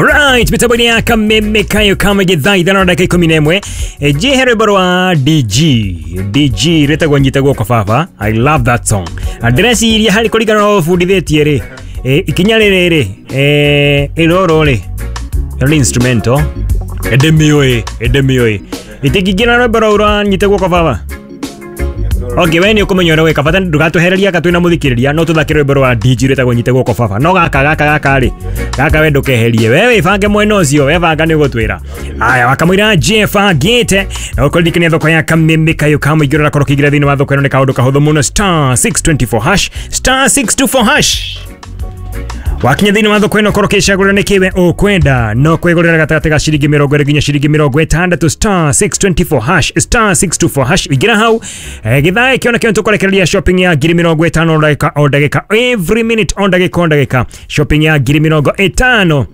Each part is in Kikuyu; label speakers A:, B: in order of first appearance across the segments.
A: Alright, mitambo-inĩ ya Kameme kayo kama gĩthaa 5:11. Njihe rwĩmbo rwa DG DG rwĩtagwo Nyita Guoko Baba. I love that song. Ndĩreciria harĩ kũringana na ũbundithĩtie rĩ, ikinya rĩrĩ rĩ, ĩroro rĩ, ĩno nĩ instrumental ĩndĩmĩũĩ ĩndĩmĩũĩ itingĩingĩra rwĩmbo rũu rwa Nyita Guoko Baba. Okay, we nĩ ũkũmenya ũrĩa gwĩka, bata ndũgatwehereria aka twĩna mũthikĩrĩria, no tũthake rwĩmbo rwa DJ rwĩtagwo Nyite Guoko Baba. No gaka gaka gaka rĩ, gaka we ndũkeherie, we wĩbange mwena ũcio, we banga nĩ ũgũtwĩra. Aya, wakamũira Jeff agĩte na ũkũririkania thoko ya Kameme kayo ka mũingĩ ũrĩa ũrakorwo ũkĩingĩra thĩinĩ wa thoko ĩno nĩ kaũndũ kahũthũ mũno, star 624 hash, star 624 hash. Wakinya thĩinĩ wa thoko ĩno korwo ũkĩcagũra nĩ kĩwe ũkwenda, no kwĩgũrĩra gatagatĩ ga ciringi 20 nginya ciringi 60, star 624 hash, star 624 hash. Ingĩra hau, gĩthaa gĩkĩ ona kĩo tũkũrekereria shopping ya ngiri 50 o ndagĩka o ndagĩka, every minute o ndagĩka o ndagĩka, shopping ya ngiri 50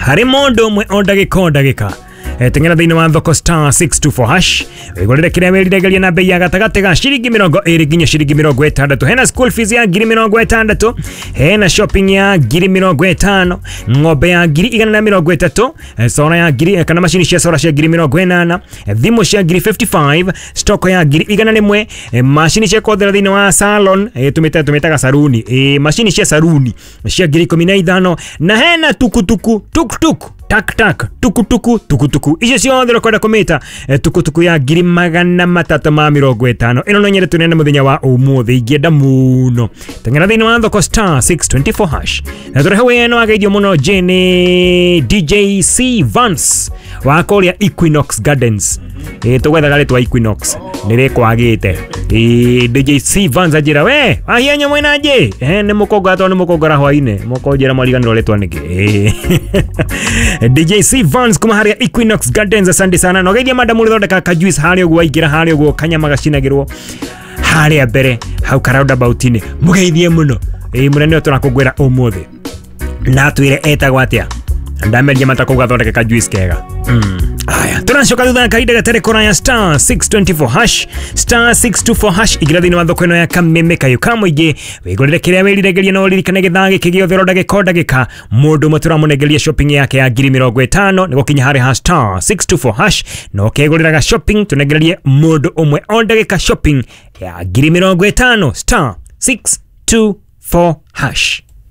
A: harĩ mũndũ ũmwe o ndagĩka o ndagĩka. Teng'era thĩinĩ wa thoko star 624 hash, wĩgũrĩre kĩrĩa wĩriragĩria na bei ya gatagatĩ ga ciringi 20 nginya ciringi 60. Hena school fees ya ngiri 60, hena shopping ya ngiri 50, ng'ombe ya ngiri 130, sora ya ngiri, kana macini cia sora cia ngiri 80, thimũ cia ngiri 55, stock ya ngiri 101, macini cia kũhũthĩra thĩinĩ wa salon, tũmĩtaga saruni, macini cia saruni cia ngiri 15, na hena tukutuku tuktuk tak tak tukutuku tukutuku icio ciothe ũkwenda kũmĩta, tukutuku ya ngiri 350. Ĩno no nyende tũnene mũthenya wa ũmũthĩ, ingĩenda mũno. Teng'era thĩinĩ wa thoko star 624 hash. Na tũrehe wĩno ageithio mũno Jane DJ C Vance wa kũrĩa Equinox Gardens. Tũgwethaga rĩtwa Equinox nĩ rĩkwagĩte. DJ C Vance anjĩra we wahia nyamũ ĩna njĩ, nĩ mũkongora tondũ nĩ mũkongora hwainĩ mũkonjĩra mwariganĩrwo rĩtwa nĩkĩ. DJ C Vance kuma harĩa Equinox Gardens, asante sana. Na ũgeithia madam ũrĩthondeka ka juice harĩa ũguo waingĩra harĩa ũguo kanyama gacinagĩrwo harĩa mbere hau ka roundabout-inĩ, mũgeithie mũno. Mũnene ũyũ tũrakũngũĩra ũmũthĩ na atwĩre etagwo atĩa, ndameria matakũu gathondeke ka juice kega. Aya, tũracoka thutha kahinda gatarĩ kũraya, star 624 hash, star 624 hash. Ingĩra thĩinĩ wa thoko ĩno ya Kameme kayo ka mũingĩ, wĩgũrĩre kĩrĩa wĩriragĩria, na ũririkane gĩthaa gĩkĩ gĩothe o ndagĩka o ndagĩka mũndũ ũmwe tũramũnengeria shopping yake ya ngiri 50 nĩ gũkinya harĩ ha star 624 hash, na ũkegũrĩraga shopping tũnengererie mũndũ ũmwe o ndagĩka shopping ya ngiri 50, star 624 hash.